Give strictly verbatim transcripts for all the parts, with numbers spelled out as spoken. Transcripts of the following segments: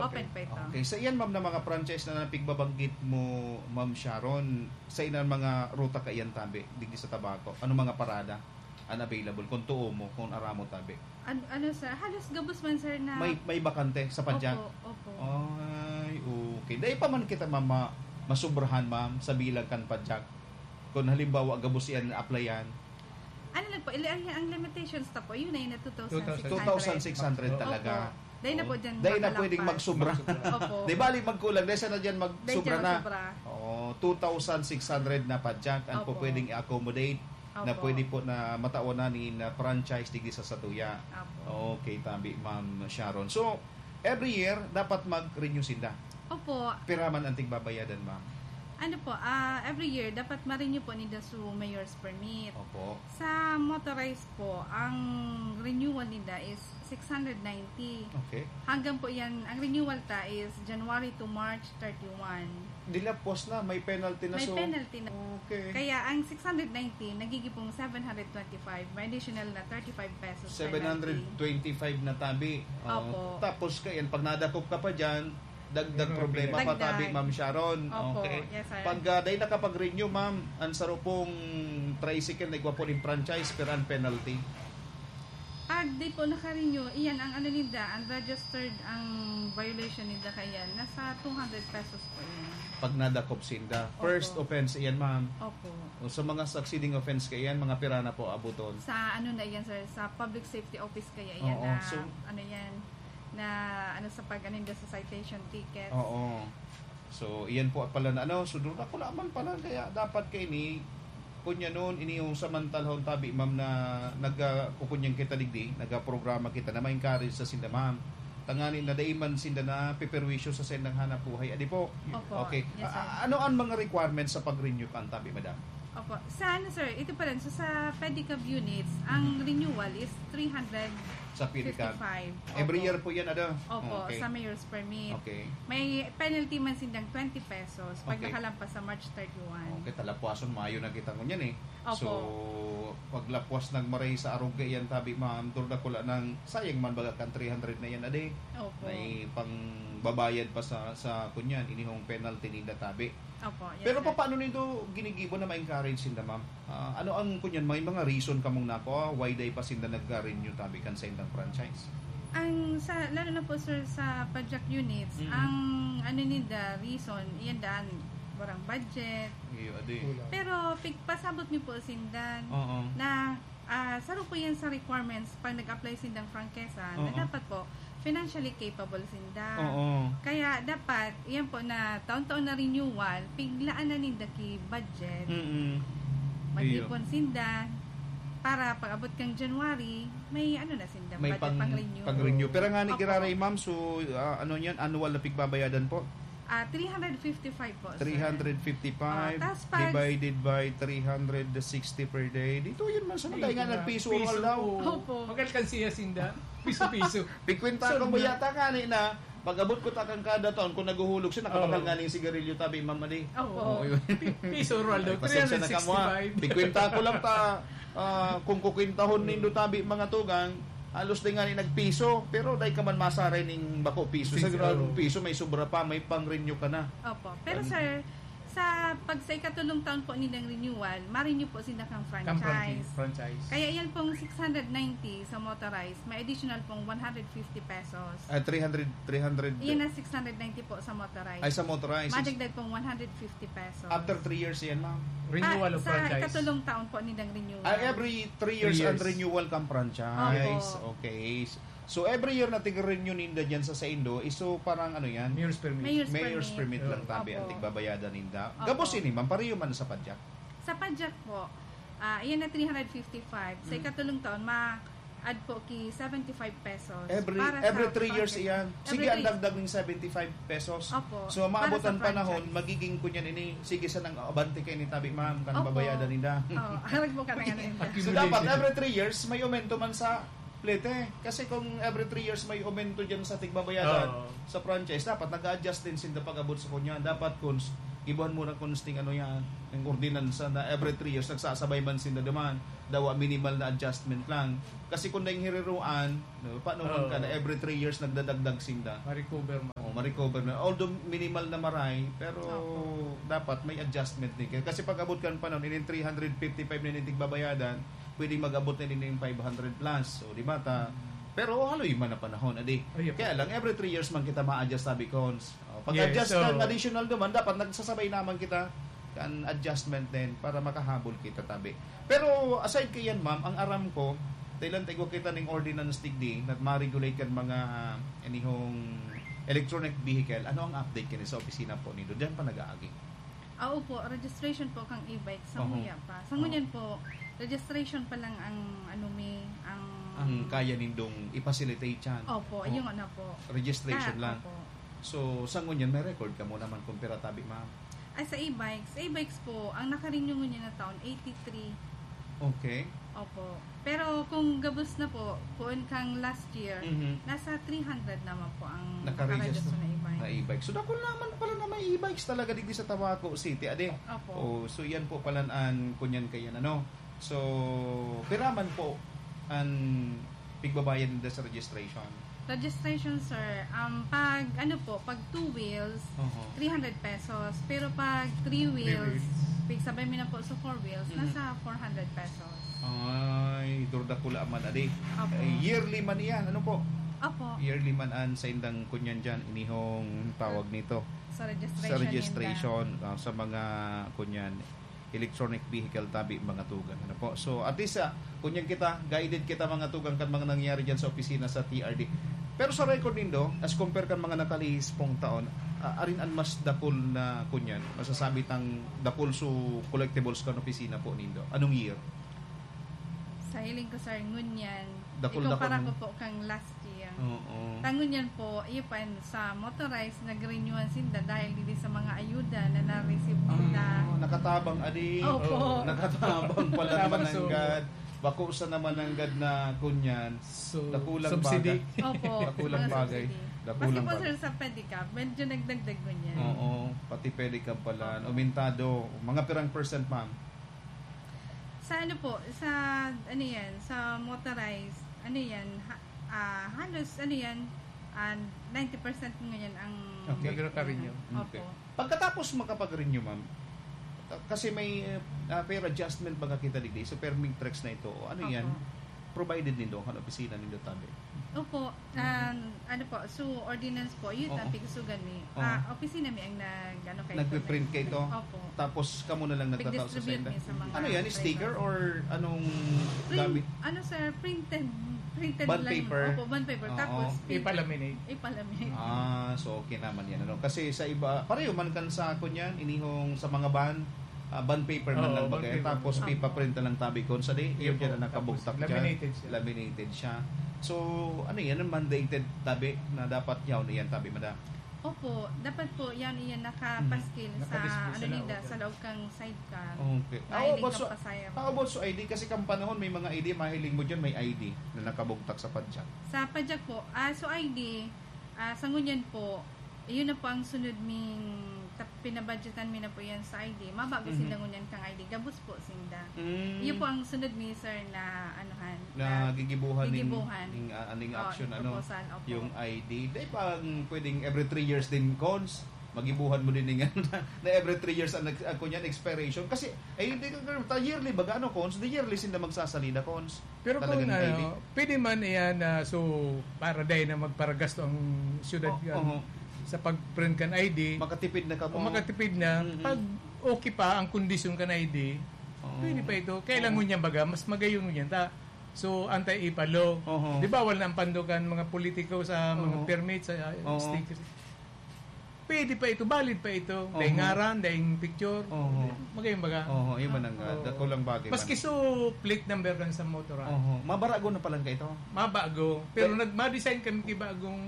Open pa ito. Okay. Sa iyan, ma'am, na mga franchise na napigbabanggit mo, Ma'am Sharon, sa iyan mga ruta kaiyan tabi, digdi sa Tabaco, ano mga parada ang available kung tuo mo, kung aramo tabi? An-, ano, sir, halos gabos man, sir, na May, may bakante sa Padjak? Opo, opo. Ay, okay. Dai pa man kita, ma'am, ma-, masubrahan, ma'am, sa bilang kan Padjak. Kung halimbawa, gabos iyan applyan. Ano lang po, ili-, ang, ang limitations ta po, yun ay na two thousand six hundred. Two thousand six hundred talaga. Opo. Dahil na po dyan Dahil na makalampas. Pwedeng magsubra. Opo. Di bali magkulang, dahil sana dyan Dahil magsubra dyan na. magsubra. Oo, two thousand six hundred na Padjak ang po Opo. pwedeng i-accommodate na Opo. pwede po na matawan na ni na franchise digdi sa satuya. Opo. Okay, tabi, Ma'am Sharon. So, every year, dapat mag-renew sinda. Opo. Pira man ang tigbabayadan, ma'am? Ano po, ah, every year, dapat ma-renew po ninda su mayor's permit. Opo. Sa motorized po, ang renewal ninda is six hundred ninety. Okay. Hanggang po yan, ang renewal ta is January to March thirty-one. Dilapos na, may penalty na, May so penalty na. Okay. Kaya ang six hundred ninety, nagiging pong seven hundred twenty-five, may additional na thirty-five pesos penalty. Seven hundred twenty-five na tabi. Oo. Opo. Tapos, kaya pag nadakop ka pa dyan, dagdag Yun ang problema pa Dagdag. tabi, Ma'am Sharon. Opo, Okay. yes, sir. Pag, ah, dahil nakapag-renew, ma'am, ang saro pong tricycle na igwa po ning franchise, pero ang penalty? Pag di po naka-renew, iyan ang ano ninda, ang registered, ang violation ninda kaya, nasa two hundred pesos po yan. Pag nadakop sinda. Opo. First offense iyan, ma'am. Opo. O sa mga succeeding offense kaya yan, mga pira na po abuton? Sa ano na yan, sir, sa public safety office kaya yan Oo, na, so ano yan, na ano sa pag-, ano ninda sa citation tickets. Oo. So, iyan po pala na ano, so doon ako naman pala, kaya dapat kaini, kunya noon, ini yung samantalahon tabi, ma'am, na nag, ah, kukunyan kita digdi, nagaprograma kita na ma-encourage sa sinda, ma'am. Tangani na dai man sinda na piperwisyo sa sendang hanap buhay. Adi po? Opo. Okay. Yes, sir. A-, ano ang mga requirements sa pag-renew kan tabi, madam? Opo. Sa ano, sir, ito pa rin. So, sa pedicab units, ang Mhm. renewal is three hundred Sa pedicab. fifty-five. Every Opo. year po yan, ano? Opo, Okay. sa mayor's permit. Okay. May penalty man sindang twenty pesos pag Okay. nakalampas sa March thirty-one. Okay, talapuason, mayo na kita ngunyan eh. Opo. So, paglapwas nagmaray sa arog kaiyan tabi, ma'am, durdakula nang sayang man baga kan three hundred na yan a day. Opo. May pangbabayad pa sa, sa kunyan, inihong penalty ninda tabi. Opo, yes, Pero sir. papaano nindo ginigibo na ma-encourage sinda, ma'am? Ah, ano ang kunyan, may mga reason kamong nako, why day pa sinda nag-renew tabi kan sa indang franchise? Ang sa, lalo na po, sir, sa Pajak units, Mm. ang ano ninda, reason, iyan daan, barang budget. Iyo, adi. Kulang. Pero pigpasabot mi po sindan Oo. na, ah, saro po yan sa requirements pag nag-apply sindang franchise, na Oo. dapat po financially capable sinda. Oo. Kaya dapat, yan po na taon-taon na renewal, piglaan na ninda ki budget. Mm-mm. Mag-ipon Iyo. sinda para pag-abot kang January, may ano na sinda, May budget pang, pang-renew. pang-renew. Pero nga ni Opo. Giraray, ma'am, so, ah, ano yan, annual na pigbabayadan po? Ah, three hundred fifty-five po, sir. Three hundred fifty-five Ah, tas pag divided by three hundred sixty per day. Dito yun man sa Hindi, mga nga, di ba? nagpiso Piso, all daw. oo. Opo. Mag-alkansiya sinda. Piso-piso. Pikwenta So, ko mo na- yata kani na, pag-abot ko takang kada taon, kung naguhulog siya, nakabakal Oo. nga ning sigarilyo tabi, mama di. Opo. Oo, yun. Pi-, piso, Roldo. Ay, pasensya na ka mo, ha. Three hundred sixty-five. Pikwenta ko lang ta, ah, kung kukwintahon nindo tabi, mga tugang, halos di nga ni nagpiso, pero dai ka man masaray ning bako piso. Sa Piso. Grabe piso, may sobra pa, may pang-renew ka na. Opo. Pero, Ano? sir, sa pag sa ikatulong taon po nilang renewal, ma-renew po sila kang Kang franchise. franchi-, franchise. Kaya yan pong six hundred ninety sa motorized, may additional pong one hundred fifty pesos. Ah, three hundred, three hundred. Yan na six hundred ninety po sa motorized. Ay, sa motorized. Madagdag pong one hundred fifty pesos. After three years yan, ma'am? Renewal Ah, of sa franchise. ikatulong taon po nilang renewal. Ah, every three Three years ang years. renewal kang franchise. Opo. Okay. So, every year na tig-renew ninda dyan sa saindo, is so parang ano yan? Mayor's permit. Mayor's Mayor's permit. permit lang Oo. tabi ang Opo. tigbabayadan ninda. Opo. Gabos ini, ma'am, pareho man sa Pajak? Sa Pajak po, ah, iyan na three hundred fifty-five. Sa Mm. ikatulong taon, ma-add po ki seventy-five pesos Every, para sa every three years franchise. iyan. Every Sige, ang three dagdag ng seventy-five pesos. Opo, So, para maabot sa ang panahon, franchise. magiging kunyan ini, sige sa nang abante kayo ni tabi, ma'am, kan Opo. babayadan ninda. Oo, harag po ka na nga ninda. So, Accumulation. dapat every three years, may aumento man sa plete. Kasi kung every three years may aumento dyan sa tigbabayadan, Oo. sa franchise, dapat nag-a-adjust din sinda pag-abot sa kunyan. Dapat kung s-, Gibuhan mo na kung sting ano yan, yung ordinansa na every three years nagsasabay man sinda duman, dawa minimal na adjustment lang. Kasi kung daing hiriruan, no, paano man ka na Oo. every three years nagdadagdag sinda? Ma-recover man. Oh, ma-recover na. Although minimal na maray, pero Opo. dapat may adjustment din. Kasi pag abot kan panahon, inin three hundred fifty-five na inin tigbabayadan, pwedeng mag-abot na din yung five hundred plus. So, di ba? Ta, pero haloy man na panahon, adi. Ay, opo. Kaya lang, every three years man kita ma-adjust, sabi ko. Oh, pag-adjust Yes, so kang additional naman, dapat nagsasabay naman kita kan adjustment din para makahabol kita, tabi. Pero aside kay yan, ma'am, ang aram ko, dahil ang tigwa kita ning ordinance digdi, na ma-regulate kan mga, ah, inihong electronic vehicle, ano ang update kini sa opisina po nindo? Diyan pa nag-aagi? Ah, opo, registration po kang e-bike sa Oho. Muya pa. Sa Oho. ngunyan po, registration pa lang ang, ano, mi, ang Ang kaya nindong i-facilitate yan? Opo, O, yung ano po. registration Ah, lang? opo. So, sa ngunyan, may record ka mo naman kung pira tabi, ma'am? Ay, sa e-bikes. Sa e-bikes po, ang nakarenew ngunyan na taon, eighty-three. Okay. Opo. Pero kung gabos na po, kuon kang last year, Mhm. nasa three hundred naman po ang Nakaregister nakaregister na e-bike. na e-bike. So, dakul naman pala na may e-bikes talaga digdi sa Tabaco City, ade. Opo. Oh, so, yan po pala an kunyan kayan, ano. So, pira man po an pigbabayad nila sa registration? Registration, sir, um, pag, ano po, pag two wheels, Oho. three hundred pesos. Pero pag three Three wheels, wheels. pigsabay mi na po sa four wheels, Mhm. nasa four hundred pesos. Ay, durdakula man, adi. Opo. Eh, yearly man iyan, ano po? Opo. Yearly man an saindang kunyan dyan, inihong tawag nito. Sa registration Sa registration, ninda. ah, sa mga kunyan, electronic vehicle tabi, mga tugang. Ano po? So, at least, ah, kunyan kita, guided kita, mga tugang, kan mga nangyari dyan sa opisina sa T R D. Pero sa record nindo, as compare kan mga nakalihis pong taon, ah, arin an mas dakul na kunyan, masasabi tang dakul so collectibles kan opisina po nindo? Anong year? Sa hiling ko, sir, ngunyan. Dakul-dakul Ikumpara mo. ko po kang last year. Oo. Ta ngunyan po, iyo pa, sa motorized, nag-renewan sinda dahil dili sa mga ayuda na na-receive ninda. Ah, nakatabang, adi. Opo. Oo. Nakatabang pala Tama, naman so, nanggad. Bako sa naman nanggad na kunyan. So, Dakulang subsidy. bagay. Opo, Dakulang mga bagay. subsidy. Dakulang Maski po, bagay. sir, sa pedicab, medyo nagdagdag ngunyan. Oo, pati pedicab pala. Opo. Aumentado. Mga pirang percent, ma'am? Sa ano po, sa ano yan, sa motorized, ano yan, ha-, ah, halos ano yan, ah, ninety percent ngayon ang Okay. Nagre-renew. Opo. Okay. Pagkatapos makapag-renew, ma'am, kasi may, ah, fare adjustment baga kita digdi, so perming tracks na ito. O ano Opo. yan? Provided nindo, kan opisina nindo tabi? Opo. Mhm. Ah, ano po, so ordinance po, yun Oo. ang pigsusugan mi. Oo. Ah, opisina mi ang nag-, ano, kay Nagpiprint kayo to? Opo. Tapos kamo na lang nagtatao sa Nag-distribute senda? mi sa mga Ano yan? Sticker driver. or anong Print, gamit? ano, sir, printed. Printed Bond lang. paper? Opo, bond paper. Oo. Tapos, Ipalaminate. ipalaminate. Ah, so okay naman yan, ano? Kasi sa iba, pareho man kan sa ako niyan, inihong sa mga bond, ah, bond paper man Oo, lang bond bagay. paper. Tapos Opo. pipaprint na lang tabi kon sa di, Yun yun dyan po. na nakabugtak Tapos dyan. laminated siya. Laminated siya. So, ano yan? Ang mandated tabi na dapat yaw na yan tabi, madam? Opo, dapat po yan, yan nakapaskil Mhm. sa, Nakadisplay ano sa nila, laog. sa loob kang sidecar. Okay. Mahiling How about kang so, pasahero. how about so I D? Kasi kang panahon, may mga I D, mahiling mo dyan, may I D na nakabugtak sa padyak. Sa padyak po, ah, so I D, ah, sa ngunyan po, yun na po ang sunod ming, ta-, pinabudgetan mi na po yan sa I D. Mabago Mhm. sinda ngunyan kang I D. Gabos po sinda. Mm. Yun po ang sunod mi, sir, na anuhan, Na na gigibuhan ning, gigibuhan. ning, ah, ning Oh, action, ano, proposal, opo. yung I D. Di ba ang pwedeng every three years din, Cons? Magibuhan mo din ning, na every three years ang nag-, ang kunyan, expiration. Kasi, ay, hindi ka, ta-, yearly baga, ano, Cons? The yearly sinda magsasalida, Cons? Pero kung Talagang ano, I D? pwede man iyan na, so, para dahil na magparagasto ang syudad Oh, kan, oho. sa pag-print kan I D, Makatipid na ka o mo. makatipid na, Mm-mm. pag okay pa ang kondisyon kan I D, Oo. pwede pa ito. Kailangan Oo. niya baga, mas magayon niya. Ta, so, anti-IPA law. Oho. Di bawal na ang pandukan mga politiko sa mga Oo. permit, sa, uh, Oo. stickers. Pwede pa ito, valid pa ito. Dahil Oho. ngaran, dahil picture. Oho. Magayon baga. Oho, yun man ang, uh, Oo. dakulang bagay Maski man. so, plate number kan sa motor, ah. Oho. Mabarago na palang ka ito? Mabago. Pero Dahil nag-, ma-design kami kibagong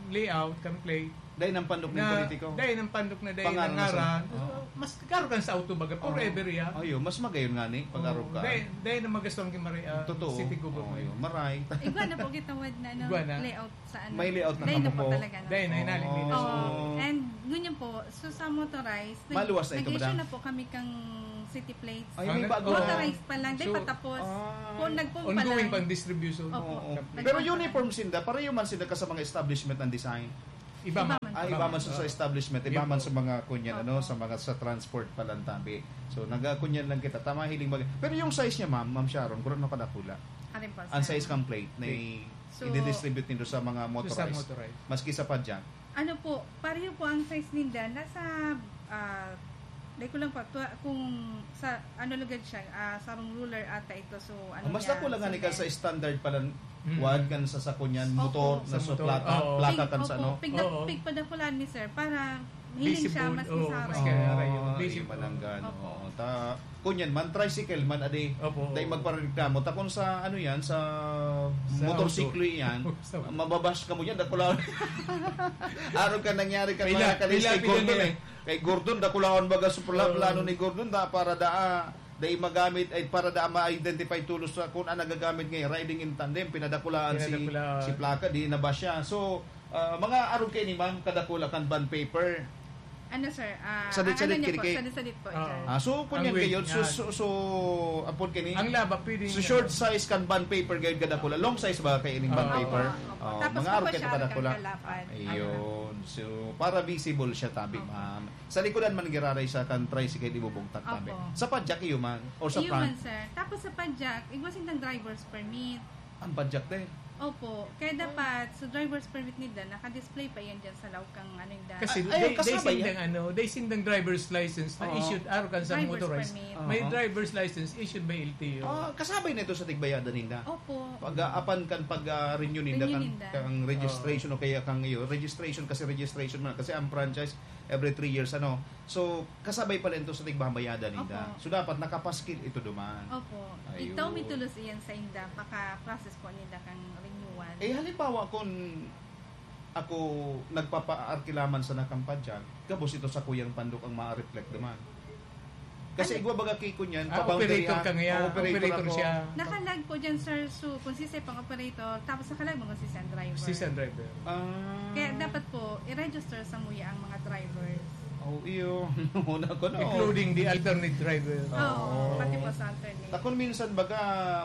layout, kan plate. Dahil ng pandok ng Na, politiko? dahil ng pandok na dahil Pangalan ng na sa ngaran. Oo. Mas karo kan sa auto baga, Oo. forever yan. Ayo, mas magayon nga ni, pag-arog Oo. ka. Dahil, dahil na magasto ang Kimari, ah, Totoo. city government. Oo, yun. Maray. Igwa na po gitawad na, ano, Igwa na. layout sa, ano. May layout na Dahil na kamo po po. talaga, no? Dahil na, Oo. inalimit na siya. Oo. And Ngunyan po, so sa motorized, nag- Maluwas na ito, nag-issue madam? Na po kami kang city plates. Ay, may bago. Motorized pa lang, di So, pa tapos. ah, Kung nagpumpa Ongoing lang. Pang distribution. Opo. Oo. Nagpumpa Pero lang. Uniform sinda, pareho man sinda ka sa mga establishment ang design. Iba man. Iba man. Ah, iba man sa, sa establishment, iba Yun man po. Sa mga kunyan, ano, Opo. Sa mga sa transport pa lang tabi. So, nagakunyan lang kita, tama, hiling mag- Pero yung size niya, ma'am, ma'am Sharon, kung ano kadakula? Ano po, Ang sir? Size kang plate na So, i-distribute nindo sa mga Sa motorized. Motorized. Maski sa padyak. Ano po, pareho po ang size ninda. Nasa, ah, dahil ko lang po, tua- kung sa, ano lugad siya, ah, sarong ruler ata ito. So, ano Ang mas niya, dako lang nga ni singlet. Sa standard pa lang, Mm. wad kan sa sakunyan, Opo. motor, na Sa sa motor. plaka, Oo. plaka kan Pig- sa opo, ano. pig- Oo. Pigpadakulaan mi, sir, para hiling siya Visible. mas Oo, isara. mas kaya rayo. Oh, Visible. Imananggan. Opo. Oo. Ta, kunyan man, tricycle man, adi. Opo. Dahil magpareklamo. Ta kung sa, ano yan, sa, Sa motorsiklo auto. Yan, Sa- mababash ka mo dyan, dakulaon. Araw ka nangyari ka, Pila- mga kalis, pila- kay pila Gordon niya. Eh. Kay Gordon, dakulaon baga sa pla- Oo. plano ni Gordon, da, para daa, dai magamit, ay para daa ma-identify tulos sa kung ano nagagamit ngayon, riding in tandem, pinadakulaan si, Pinadakulaan. Si plaka, di na ba siya? So, ah, mga arog kayo ni ma'am, kadakula kan bond paper. Ano, sir? Ah, Sadit-sadit ang ano niya po, kirikit. Sadit-sadit po, Ah. sir. Ah, so, kung Ang yan weight kayo, so, niya. so, so, apod kini? Ang laba, pwede So, niya. Short size kan bond paper, gayod kadakula. Long size ba kayo ining bond Ah. paper? Opo, opo. Oh, Tapos mga po arog pa kayo siya kadakula. Kalapan. Ayun. So, para visible siya, tabi, Opo. Ma'am. Sa likodan man giraray sa kan tricycle, ibubugtak, tabi. Opo. Sa padyak, iyo man? Or sa Iyo front? Man, sir. Tapos sa padyak, igwa sindang driver's permit. Ang padyak, te? Opo. Kaya dapat, sa driver's permit nila, naka-display pa yan dyan sa laog kang ano yung da- Kasi Ay, ay, they, they kasabay sindang yan? Ano, they sindang driver's license na Oo. Issued arog kan sa Driver's motorized. Permit. May Oo. Driver's license issued by L T O. Ah, kasabay na ito sa tigbayadan ninda? Opo. Pag-aapan kan pag-renew ninda Renew kan, ninda. Kang registration o kaya kang iyo, registration kasi registration man kasi ang franchise every three years, ano. So, kasabay pala ito sa tigbabayada ninda. Opo. So, dapat nakapaskil ito duman. Opo. Ayun. Ito may tulos iyan sa inda, baka process po ninda kang renewal. Eh, halimbawa, kung ako nagpapaarkilaman sa Nakampadyan, gabos ito sa kuyang pandok ang ma-reflect duman. Kasi Ano? Igwa baga kiko niyan, Ah, pa-boundary, operator ah. ka ngayon. Operator Operator ako. Siya. Nakalag po dyan, sir. So, kung si Sir pang operator, tapos nakalag mga si Sen driver. Si Sen driver. Ah. Kaya dapat po, i-register sa muya ang mga drivers. Oh, iyo. Una ko na. Including the alternate driver. Oo, Oo. Pati po sa alternate. Takon minsan baga,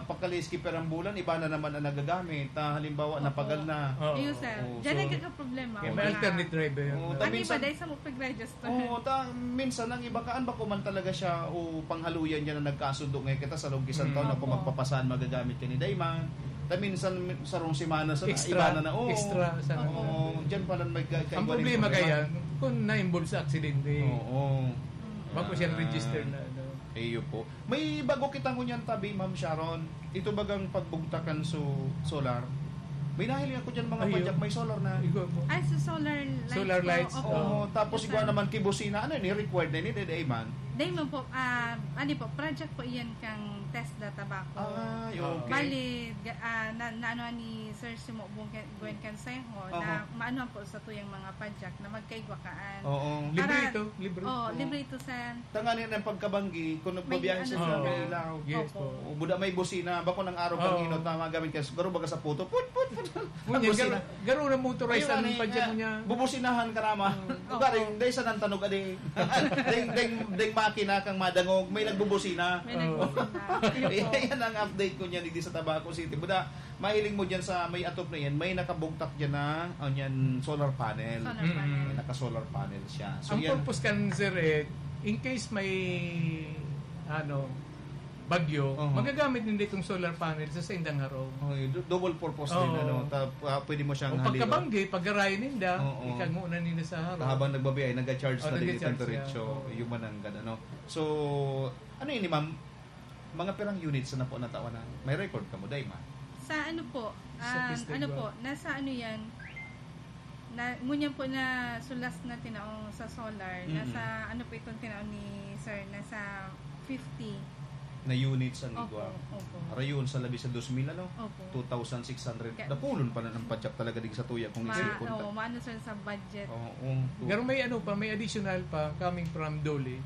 pagka-late skipper ang bulan, iba na naman ang nagagamit. Ah, halimbawa, Opo. Napagal na. Oo. Iyo, sir. Oo, Diyan so, nagkakaproblema. Kaya may Mga- alternate driver. Oo, Ang ta- iba, minsan- dahil sa mag-register. Oo, ta, minsan ang iba kaan ba kuman talaga siya o panghaluyan niya na nagkasundo ngayon kita sa log isang Mm. taon ako Opo. magpapasahan magagamit ka ni Dayman. Ta minsan sarong semana sa Extra, iba na na. Oo. extra sa Oo. Oo, diyan pala may ka- Ang kaiba rin problema problema. Kaya, kung na-involve sa aksidente, Oo. Mm. bako siyang Ah. register na ano. Iyo po. May bago kitang ngunyan tabi, Ma'am Sharon. Ito bagang pagbugtakan so solar. May nahiling ako dyan mga Ayun. Padyak, may solar na. Ikaw po. Ay, sa solar lights Solar po. lights, Opo. Oo, tapos Yes, ikaw sir. Naman kibusina. Ano yun? Required na yun, eh, man? Dahil man po, ah, ano po, project po iyan kang Tesla Tabaco. Ah, okay. Bali, ga- ah, na, na ano ni Sir Simo Bong Gwen Cansejo, na Aha. maano po sa tuyang mga Padyak na magkaigwa kaan. Oo. Libre Para- ito, libre. Oo, Oo. libre ito, sir. Tanganin ang pagkabanggi, kung May nagbabiyahe ano sa sila. mga ilaw. Yes Opo. po. O, buda may busina, bako ng araw Oo. kang inot na magamit ka. Siguro baga sa puto, put, put, put. Ngunyan, Busina. garo, garo na motorized Ayun, ang ano yun, Padyak ah, niya. Bubusinahan ka naman. Mm. Garing, dahil sa nantanog, adi. Ding, ding, ding makina kang madangog, may nagbubusina. May Oo. nagbubusina. Ayan ang update ko niyan, hindi sa Tabaco City. Buda, mahiling mo dyan sa may atop na yan, may nakabugtak dyan na, oh, yan, solar panel. Solar Mm. panel. May naka-solar panel siya. So, Ang yan. Purpose kan, sir, eh, in case may, ano, bagyo, Oo. Magagamit ninda itong solar panel sa saindang harong. Oh, yun, du- double purpose din, Oo. Ano, ta, ah, pwede mo siyang O haliwa. Pagkabanggi, paggaray ninda, Oo. Ikanguna ninda sa harong. Habang nagbabiyahe, nag-charge Oh, na din nag-charge itong siya. diretso. Oo. Yung mananggad, ano. So, ano yun, ma'am? Mga pirang units na po natawanan? May record ka mo, Dayma? Sa ano po? Sa Um, Festival. Ano po? Nasa ano yan? Na, ngunyan po na sulas na tinaong sa solar. Mm-mm. Nasa ano po itong tinaong ni Sir? Nasa fifty. Na units ang Opo, igwa. Opo. Rayon sa labi sa dos mil, ano? Opo. Two thousand six hundred. Ga- Dapulon pa na ng Padyak talaga din sa tuya kung Ma, isipon ta. Oh, maano, sir, sa budget. Oo. Pero may ano pa, may additional pa coming from DOLE.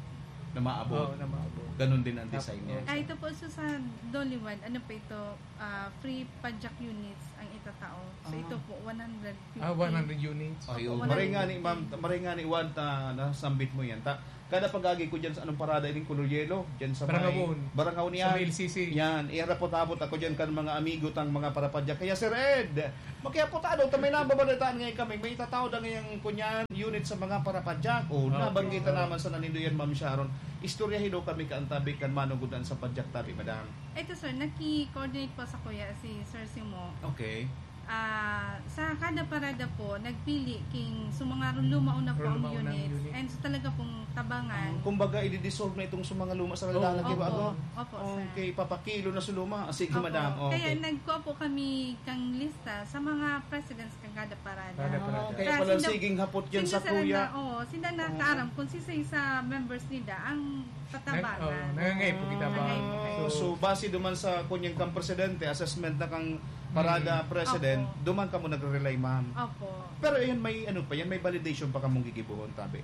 Na maabot. Oo, na maabot. Ganun din ang design niya. Ah, ito po, so, sa Dolly One, ano po ito, ah, free Pajak units ang itatao. So, Ah. ito po, one hundred fifty. Ah, one hundred units. Ay, oh, Wala maray rin. nga ni ma'am, maray nga ni Juan ta nasambit mo yan. Ta, kada pag-agi ko dyan sa anong parada ining Color Yellow, dyan sa Barangay may Bun. Barangay Sa Unian. may L C C. Yan, iharapot-hapot ako dyan kan mga amigo tang mga parapadyak. Kaya Sir Ed, makiapot ano, ta may nababalitaan ngayon kami, may itatao na ngayang kunyan unit sa mga parapadyak. O, Okay. nabanggit na naman sa nanindoyan, Ma'am Sharon. Istoryahin daw kami kaantabi kan manugudan sa padyak tabi, Madam. Ito, sir, naki-coordinate po sa kuya si Sir Simo. Okay. Ah, sa kada parada po, nagpili king sa mga lumaon na po ang Lumaon na ang units. unit. And so talaga pong tabangan. Kumbaga, i-dissolve na itong sa mga luma sa Oo. lalaki ba? Opo. Ano? Opo, sir. Okay, papakilo na sa luma. Ah, sige, Opo. madam. Okay. Kaya nagkuha po kami kang lista sa mga presidents kang kada parada. Kada Ah, parada. kaya Sa pala sinda- siging hapot yan sinda sa sila kuya. Na, oh, sinda na Oo. kaaram kung sisay sa members nila ang tatabangan. Nang-, oh, nangangay po kita ba? Nangangay po kayo. Oh, so, base duman sa kunyang kang presidente, assessment na kang parada Mm. president, Opo. duman ka mo nagre-rely, ma'am. Opo. Pero yan, may ano pa yan, may validation pa kamong gigibuhon, tabi.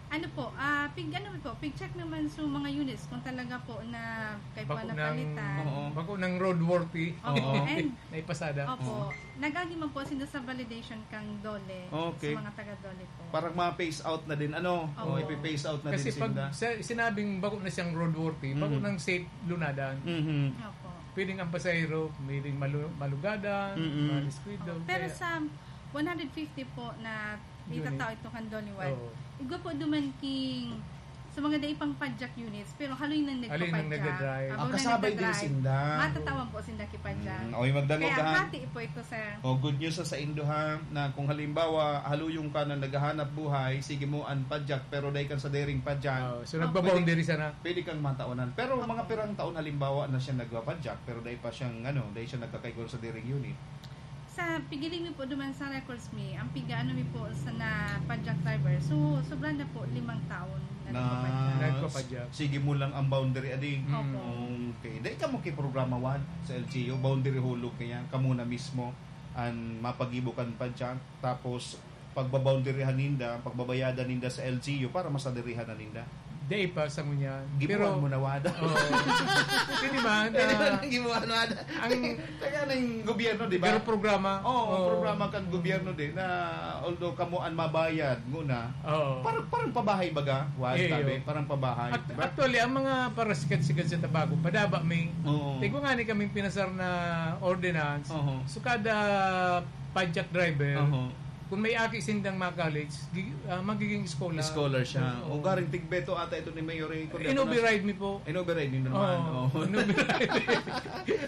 Ano po, ah, pig, ano po, pig-check naman sa mga units kung talaga po na kay po Bako ng, napalitan. Oo. bako ng roadworthy. Opo, Oo. and, Naipasada. opo, Oo. nag-agi man po sinda sa validation kang DOLE, Okay. sa mga taga-DOLE po. Parang ma-phase out na din, ano? Oo. O, ipi-phase out na Kasi din pag sinda. sa, sinabing bako na siyang roadworthy, bako Mhm. ng safe lunadan. Mhm. Opo. Pwedeng ang pasahero, pwedeng malu- malugadan, Mm-mm. maliskwidon. Pero Kaya- sa one hundred fifty po na Unit. itatao ito kan DOLE One, Oo. igwa po duman king sa mga dai pang padyak units, pero haloy nang Haloy nang nagpapadyak. nagdadrive. Abo Ah, nang kasabay din nagdadrive. sinda. Matatawan po sinda kipadyak. Mm, oy, magdangog Kaya ka, ha? Hati po ito, sir. O, good news sa, sa indo, ha, na kung halimbawa, haluyong ka na naghahanap buhay, sige mo an padyak, pero dai kan sa dairing padyak. Oh, so Ah, nagbaboundary pwede, sana. Pwede kang mataonan. Pero mga Opo. pirang taon, halimbawa, na siya nagpapadyak, pero dai pa siyang, ano, dai siya nagkakaigor sa dairing unit. Sa pigiling mi po duman sa records mi, ang piga-ano mi po sa na padyak driver. So, sobra na po limang taon na Na nagpapadyak. Nagpapadyak. Sige mo lang ang boundary, adi. Mm. Opo. Okay. Dai ka mo kiprograma, Juan, sa L G U. Boundary hulog kaya. Kamo na mismo ang mapagibo kan padyak. Tapos, pagbaboundaryhan ninda, pagbabayadan ninda sa L G U para masadirihan na ninda. Dai pa sa ngunyan. Gibuhan Pero, mo na, Wada. Oo. Hindi man, Hindi ah, man ang gibuhan, Wada. ang Taga ng gobyerno, di ba? Pero programa. Oo, Oo. programa kan gobyerno din na although kamo ang mabayad muna, Oo. parang, parang pabahay baga, Juan, Iyo. tabi, parang pabahay, At, di ba? Actually, ang mga parasikat-sikat sa Tabaco, padaba may Oo. Tigwa nga ni kaming pinasar na ordinance. Oo. So, kada padyak driver, Oo. kung may aki sindang ma-college, gi- ah, magiging scholar. Scholar siya. Oo. O garing tigbeto ata ito ni Mayor, eh, kung In-override mi po. In-override ninyo naman. Oo, Oo. in-override.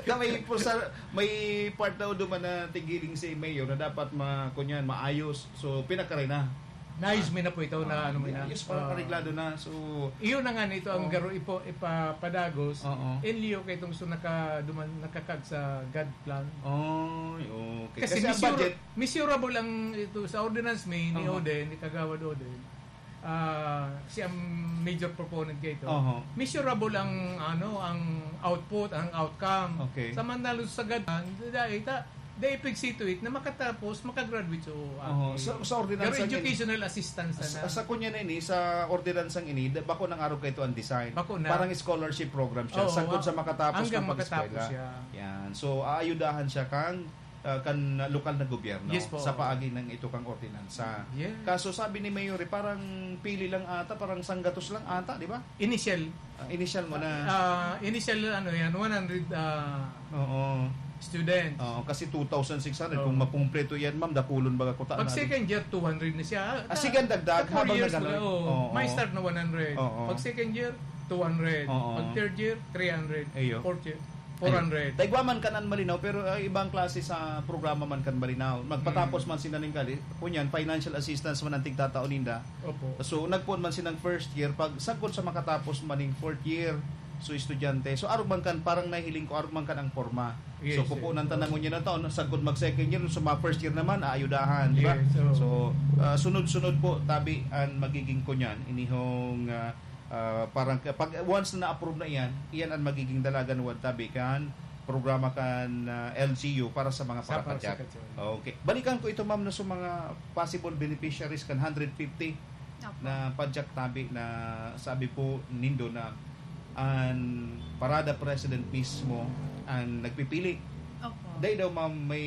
Na may, pusa, may part daw duman na tigiling si Mayor na dapat ma, kunyan, maayos. So, pinakare na. Naayos mi na po ito na ano mi na. Ayos, parang Ah. areglado na. So, Iyo na nga nito ang Oo. garo ipo, ipapadagos. Oo. Inliyo kay itong so nakaduman, nakakag sa God plan. Oy, okay. Kasi, Kasi ang measure- budget, measurable ang ito sa ordinance may ni Oo. Oden, ni Kagawad Oden. Ah, siya ang major proponent kay ito. Oo. Measurable ang ano, ang output, ang outcome. Okay. Samantala sa gadan, dahil ta, they pig-see to it na makatapos, makagraduate so Oo, sa, sa ordinance Pero ang ini- educational assistance na. Sa, sa kunya na ini, sa ordinansang ini, da- bako nang arog kaito ang design. Bako na. Parang scholarship program siya. Oo, Sagkod ah, sa makatapos hanggang ng pag-eskwela. Makatapos siya. Yan. So, aayudahan siya kang ah, kan lokal na gobyerno Yes po. Sa paagi ng ito kang ordinansa. Yes. Kaso sabi ni Mayor, eh, parang pili lang ata, parang sanggatos lang ata, di ba? Initial. Ah, initial mo na. Ah, initial ano yan, one hundred ah, Oo. students. Oo, kasi two thousand six hundred. Oo. Kung makumpleto yan, ma'am, dakulon baga kuta Pag na. Second year, two hundred na siya. Ah, sige, ang dagdag, Four habang years nag-ano. mo, oh, Oo. May start na one hundred. Oo. Pag second year, two hundred. Oo. Pag third year, three hundred. Iyo. Fourth year, four hundred. Taigwaman kan an Malinaw, pero ah, ibang klase sa programa man kan Malinaw. Magpatapos Mm. man sila ning kali, kunyan, financial assistance man ang tigtatao ninda. Opo. So, nagpoon man silang first year, pag sagkod sa makatapos man ning fourth year, so estudyante. So, arog man kan, parang nahiling ko, arog man kan ang forma. Yes, So, pupunan yes. ta na ngunyan na taon, sagkod mag second year, so mga first year naman, aayudahan, di ba? Yes, oo. So, ah, sunod-sunod po, tabi ang magiging kunyan, inihong ah, ah, parang ka- pag once na na-approve na iyan, iyan ang magiging dalagan wan tabi kan programa kan ah, L G U para sa mga Sa parapadyak. parapadyak. Okay. Balikan ko ito, ma'am, na sa mga possible beneficiaries kan hundred fifty. na padyak tabi na sabi po nindo na an parada president mismo ang nagpipili. Opo. Dai daw, ma'am, may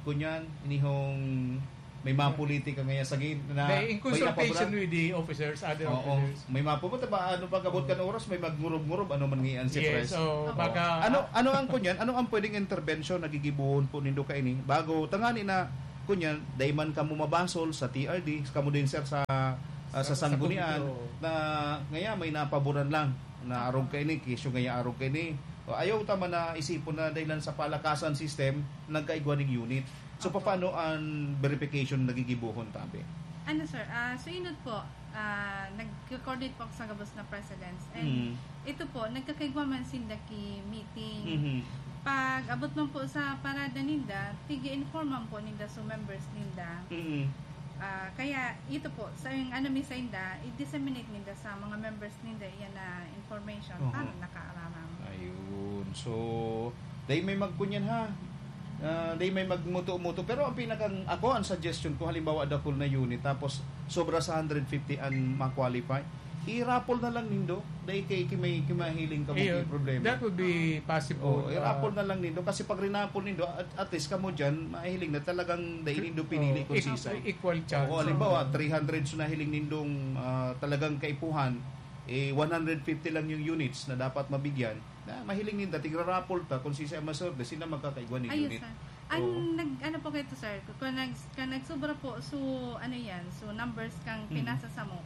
kunyan, inihong may mga politika ngaya sa gid na May in may consultation napaboran. With the officers, other Oo. Officers. May mapupunta ba? Ano pag-abot kan oras, may magngurob-ngurob, ano man ngayon si Yes, Pres? So, Oo. Baka Ano, ano ang kunyan? Ano ang pwedeng intervention na gigibuhon po nindo kaini? Bago, tangani na, kunyan, dai man kamo mabasol sa T R D, kamo din, sir, sa, ah, sa Sa, sa sanggunian, committee, oo. Na ngaya may napaboran lang, na arog kaini, kesyo ngaya arog kaini. O, ayaw ta man na isipon na dahilan sa palakasan system, nagkaigwa ning unit. So, Opo. Paano ang verification na gigibohon, tabi? Ano, sir? Ah, so, inot po, ah, nag-coordinate po ako sa gabos na presidents. And Mm. ito po, nagkakaigwa man sinda ki meeting. Mhm. Pag abot man po sa parada ninda, tigi-inform man po ninda sa members ninda. Mm. Ah, kaya ito po, sa yung ano mi sa inda, i-disseminate ninda sa mga members ninda iyan na information Oho. Para nakaaraman. Ayun. So, dai may magkunyan ha. Ah, dai may magmuto-muto. Pero ang pinakang, ako, ang suggestion ko, halimbawa, dakul na unit, tapos sobra sa hundred fifty ang ma-qualify, i-raffle na lang nindo. Dai kay, kay may, kay mahiling ka, Ayun. May problema. That would be possible. Oo, i-raffle Ah. Na lang nindo. Kasi pag rinaffle nindo, at, at least kamo dyan, mahiling na talagang dai nindo pinili Oo, kung equal, sisay. Equal chance. Oo, halimbawa, three hundred so nahiling nindong, ah, talagang kaipuhan, eh, one hundred fifty lang yung units na dapat mabigyan. Na mahiling ninda, tigra-raffle ta, kung sisay ang maswerte, sila magkakaigwa ning Ayun, unit. Sir. Ang Oo. Nag-, ano po kayo to, sir? Kung nag-, kung nagsubra po, so, ano yan? So, numbers kang Mm. pinasa sa mo.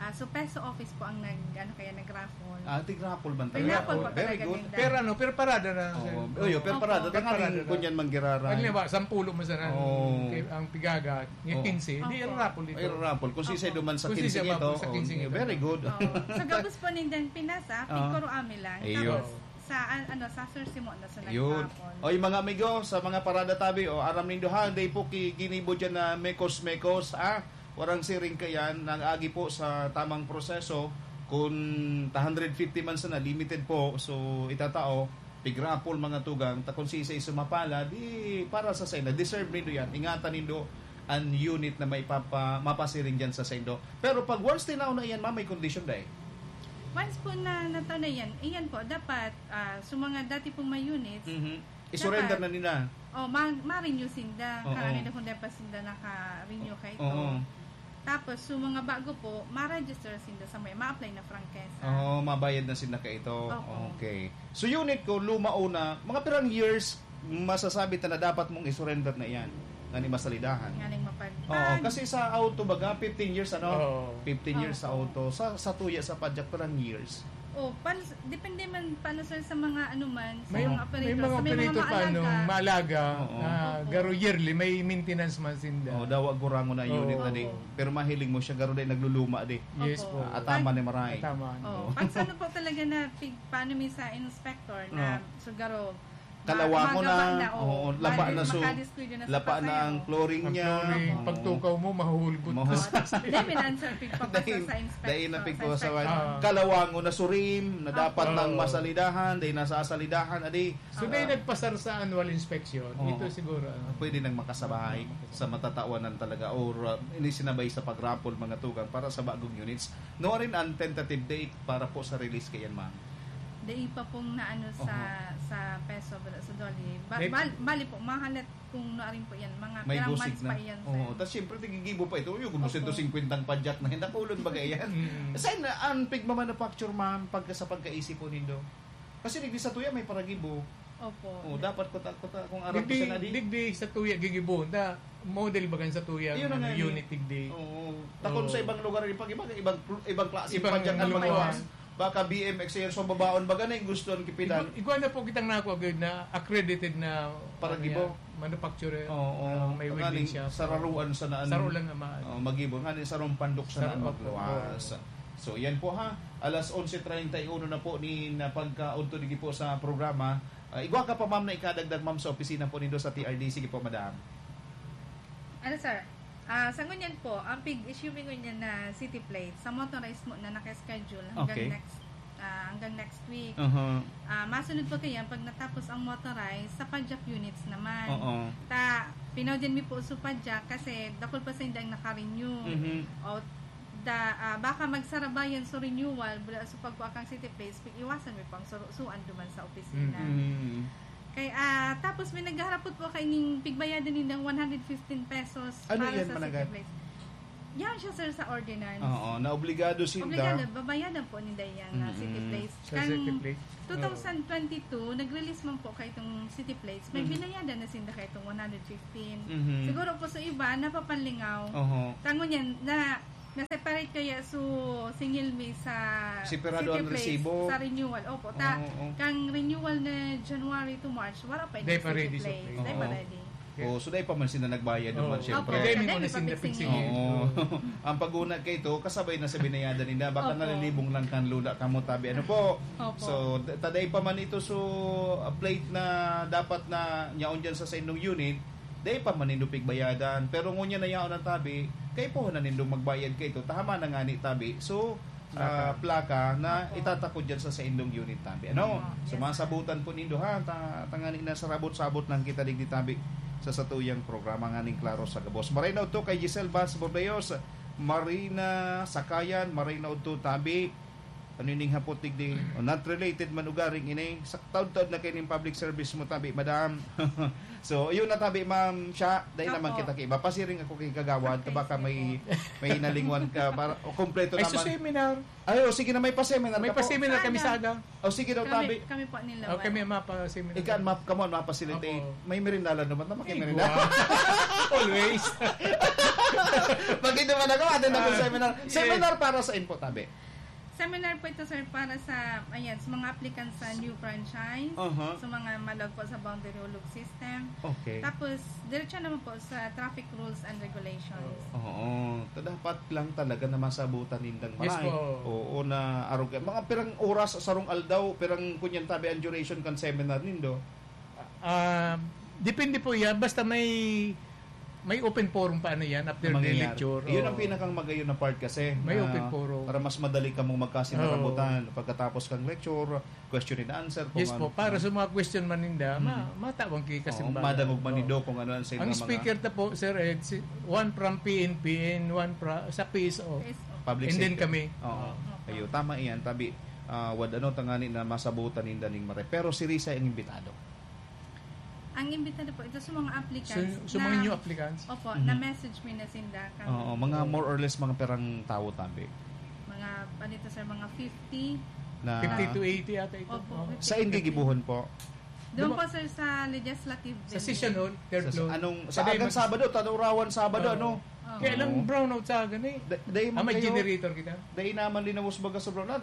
Ah, so, Peso Office po ang nag-, ano kaya, nag-raffle. Ah, tig-raffle man talaga. Tig-raffle Oh, po very talaga good. Ninda. Pero ano, pero parada na, sir. Oo. Oy, pero Opo. Parada. Pero parada Tanganing na. Kunyan manggirara. Halimbawa, sampolo man sana ang, Oo. Kay, ang pigaga, yung Oo. Quince, di Opo. Ang raffle dito. Ay, raffle. Kung sisay Opo. Duman sa Kung sisay Quince ba ito, po sa Quince oh, ito. Very good. Oo. Sa gabos po nindan pinasa, Ah. Pigkoro Ami lang. Ayun. Tapos, Sa, an-, ano, sa Sir Simo na sa Yun. Nagpapon. Oy, mga amigo, sa mga parada tabi, o, aram nindo ha, dai po ki-, ginibo dyan na mekos-mekos, ha? Warang siring kayan, nag-agi po sa tamang proseso. Kung ta hundred fifty man sana, limited po, so itatao, pigrapol mga tugang, ta kung sisay sumapala, di para sa saina, deserve nindo yan. Ingatan nindo an unit na maipapa-, mapasiring dyan sa saindo. Pero pag once tinaw na yan, ma'am, may kondisyon dai? Once po na nataw na yan, iyan po, dapat, ah, sa mga dati pong may units, Mhm. I-surrender dapat, na nila. Oh, ma-, ma-renew sinda. Oo. Karani na kung di pa sinda naka-renew ka ito. Oo. Tapos, sa mga bago po, ma-register sinda sa may, ma-apply na franchise. Oo, mabayad na sinda ka ito. Oo. Okay. So, unit ko, luma una, mga pirang years, masasabi ta na dapat mong i-surrender na yan. Ngani masalidahan. Nganing mapag-, Oo, pag- kasi sa auto baga, fifteen years, ano? Oo. Fifteen years sa Oo. Auto. Sa, sa tuya, sa padyak, parang years. Oh, pan-, depende man, paano, sir, sa mga ano man, sa May, mga may operator, mga sa may mga operator pa, ano, maalaga. Maalaga, Oo. Ah, Opo. Garo yearly, may maintenance man sinda. Oh, dawa gurangon na unit Oo. Na di. Opo. Pero mahiling mo siya, garo di nagluluma di. Yes Opo. Po. Ataman ni maray. Ataman. Oh, Oo. Pag sa ano po talaga na, pig-, paano mi sa inspector na, Oo. So, garo, Kalawa ma-, mo magawa na, na, oo, oo, laba bali, na so, makadiskuyo na sa laba na ang pasayo. Flooring Ang niya. Flooring, oo. Pagtukaw mo, mahuhulgot Mahul- ka. Dahil may answer, pigpapasa Dahil, sa inspector, dahil na sa pigpapasa, inspector. Ah. Kalawangon na surim, na dapat Opo. Nang masalidahan, dahil nasasalidahan, adi. So, dahil Ah. Nagpasar sa annual inspection, Oo. Ito siguro, ano. Pwede nang makasabay sa matatawanan talaga or, uh, inisinabay sa pag-raffle, mga tugang, para sa bagong units. No, rin ang tentative date para po sa release kayan, ma'am. Dai pa pong naano sa, Oho. Sa peso, bala, sa dolly. Ba-, May bal-, bali po, mahalat kung nuarin po yan. Mga May pirang gusig months na. Pa yan, sir. Oo, tas siyempre, tigigibo pa ito. Yung kung Opo. Sento singkwenta ang padyak na, hindi, kulon ba yan? Mm. Saan na ang pigmamanufacture, ma'am, pagka sa pagkaisip po nindo? Kasi digdi sa tuya, may paragibo. Opo. Oh, dapat kuta-kuta, kung aram ko Digdi, sa nadi. Digdi sa tuya, gigibo. Na, model bagan sa tuya, Yun na ano, nga, eh. Unit digdi. Oo. Takon Oo. Sa ibang lugar, pag iba, ibang, ibang klase Ibang pa dyan, ano, lugar. Baka B M X yan, so babaon, baga na yung gusto ang kipilan. Igwa, igwa na po kitang nakuha, good na accredited na, Para ano gibo? Yan, manufacturer. Oo, oo. Ah, may Ngaling welding shop. Sararuan sa naan. Saro lang naman. Oh, magibo. Ngaling sarong pandok sa Saro, naan opo, magluwas. Opo. So, yan po ha. Alas onse treinta y uno na po ni na pagkaudto digi po sa programa. Ah, igwa ka pa, ma'am, na ikadagdag, ma'am, sa opisina po nindo sa T R D. Sige po, madam. Ano, sir? Ah, sa ngunyan po, ang pig-issue mi ngunyan na city plate, sa motorized mo na naka-schedule hanggang Okay. Next, ah, hanggang next week. Uh-huh. Ah, masunod po kayan pag natapos ang motorized sa padyak units naman. Oo. Ta, pinaw din mi po sa padyak kasi dakul pa sa hindi ang naka-renew. Mhm. O, Da, ah, baka magsarabayan sa renewal, bula sa pagkuha kang city plates, pag-iwasan mo pang surusuan duman sa opisina. Mm. Kay, ah, tapos may naghaharapot po kay ning pigbayadan nindang one hundred fifteen pesos Ano para yan, sa Managat? City Plates. Yan siya, sir, sa ordinance. Oo, naobligados sinda. Obligado, babayadan po ninda yan na Mm-mm. City Plates. Sa City Plates. two thousand twenty-two, nag-release man po kayo itong City Plates. May Mhm. binayadan na sinda kayo itong one hundred fifteen. Mhm. Siguro po sa iba, napapanlingaw. Oho. Tango niyan, na, na-separate kaya so singil mi sa Separado City ang Plates, resibo. Sa renewal. Opo, ta, Oo, oo. kang renewal na January to March, wala pa Di yung pa City ready sa Plates. Plates. Di pa Oo. ready. Oh, so dai pa man sila nagbayad Oo. naman, Opo, syempre. Dai mi dai muna mi sinda pagsingil. pagsingil. Oo. Ang pag-una kay ito, kasabay na sa binayadan nila, baka Opo. nalilibong lang kan lula kamo tabi. Ano po? Opo. So, d- taday pa man ito, so, a plate na dapat na nyaon dyan sa, sa indong unit, dai pa man nindo pigbayadan. Pero ngunyan na yaon ang tabi, kay po na nindong magbayad kay ito. Tahama na nga ni tabi. So, ah, plaka na Opo. itatakod dyan sa, sa indong unit tabi. Ano? Opo. So, Yes, masabutan po nindo, ha? Ta, tangani na sarabot-sabot lang kita digdi tabi sa satuyang programa nganing Klaro sa Gabos. Maray na udto kay Giselle Vaz Bordeos, Marina Sakayan, maray na udto tabi. Ano ining hapot digdi? O, not related man ugaring ini. Sa taod-taod na kayo ng public service mo, tabi, madam. So, yun na tabi, ma'am. Siya, dahil naman Opo. kita kay iba. Pasiring ako kay Kagawad, Okay, baka sige may, po. may nalingwan ka. Para, o, kompleto Ay, naman. Sa seminar. Ay, o, sige na, may pa-seminar May ka po. pa-seminar kami Sana. sa aga. O, sige daw, Kami, tabi. kami po nila. O, kami mapa-seminar. Ika, map, come on, mapa-facilitate. Opo. May merindalan naman na Ay, makimerenda. guwa. Always. Pag ito man ako, atin ako Ah, seminar. yes. Seminar para sa info, tabi. Seminar po ito, sir, para sa, ayan, sa mga applicants sa new franchise, Aha. sa mga malog po sa boundary hulog system. Okay. Tapos, diretso naman po sa traffic rules and regulations. Oo. Ta dapat lang talaga na masabutan nindang Yes maray. po. Oo, na arog. Mga pirang oras, sarong aldaw, pirang kunyan tabi ang duration kan seminar nindo. Ah, depende po yan. Basta may may open forum pa ano yan after the Mangyayari. lecture. Yun Oo. Ang pinakang magayon na part kasi. May Na open forum. Para mas madali ka mong magkasinarabutan. Pagkatapos kang lecture, question and answer. Kung Yes po, ano. Para sa mga question man ninda, ma Mhm. matabang kayo kasi Oo, madangog man nindo kung ano ang sa Ang mga speaker ta po, Sir Ed, si, one from P N P and one fra, sa P S O. Yes, opo. Public And then sector. Kami. Oo. Opo. Ayo, tama iyan, tabi. Ah, wad ano, tangani na masabutan ninda ning maray. Pero si Risa ang imbitado. Ang imbitado po, ito sa mga applicants. So, so mga new applicants? Opo, Mhm. na-message mi na sinda. Kami. Oo, mga more or less mga pirang tawo, tabi. Mga, ano ito, sir, mga fifty. Na, Fifty to eighty ata ito. Opo, Oo. fifty. Saan gigibuhon po? Doon Di ba- po, sir, sa Legislative Sa Building. session hall, third Sa, floor. anong, Sa sa agang Diamond- Sabado, tanurawan Sabado, Oo. ano? Oo. Kaya lang Oo. brownout sa agan eh. Da- dahil Ah, may kayo- generator kita. Dahil naman linawos baga sa brownout.